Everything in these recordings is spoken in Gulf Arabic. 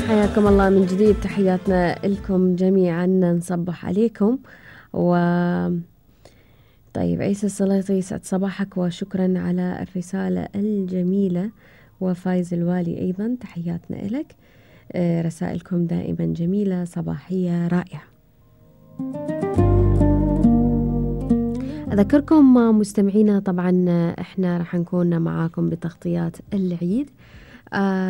حياكم الله من جديد، تحياتنا لكم جميعا، نصبح عليكم. و طيب عيسى السلاطي، يسعد صباحك وشكرا على الرسالة الجميلة. وفايز الوالي أيضا تحياتنا لك. رسائلكم دائما جميلة، صباحية رائعة. أذكركم مستمعينا طبعا احنا راح نكون معاكم بتغطيات العيد.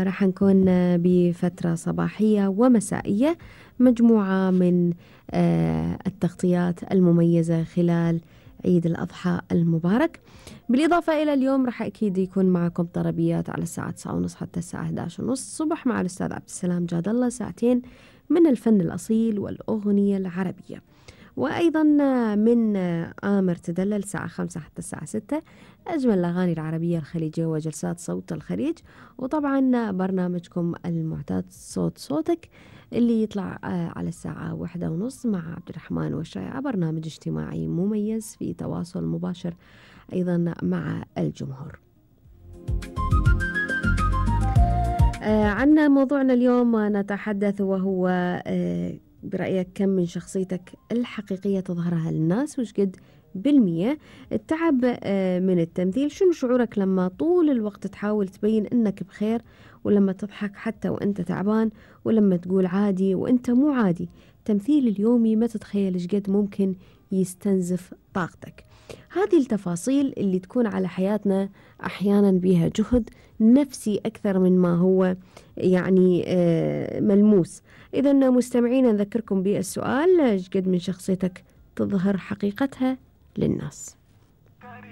راح نكون بفترة صباحية ومسائية، مجموعة من التغطيات المميزة خلال عيد الأضحى المبارك. بالإضافة إلى اليوم راح أكيد يكون معكم طربيات على الساعة 9:30 حتى الساعة 11:30 الصبح مع الأستاذ عبد السلام جاد الله، ساعتين من الفن الأصيل والأغنية العربية. وأيضا من آمر تدلل الساعة 5 حتى الساعة 6 أجمل الأغاني العربية الخليجية وجلسات صوت الخليج. وطبعا برنامجكم المعتاد صوت صوتك اللي يطلع على الساعة 1:30 مع عبد الرحمن والشايعة، برنامج اجتماعي مميز في تواصل مباشر أيضا مع الجمهور. عنا موضوعنا اليوم نتحدث وهو برأيك كم من شخصيتك الحقيقية تظهرها للناس، وش قد بالمية التعب من التمثيل؟ شنو شعورك لما طول الوقت تحاول تبين انك بخير، ولما تضحك حتى وانت تعبان، ولما تقول عادي وانت مو عادي؟ التمثيل اليومي ما تتخيل ايش قد ممكن يستنزف طاقتك. هذه التفاصيل اللي تكون على حياتنا أحيانا بها جهد نفسي أكثر من ما هو يعني ملموس. إذا مستمعين نذكركم بالسؤال، ايش قد من شخصيتك تظهر حقيقتها للناس؟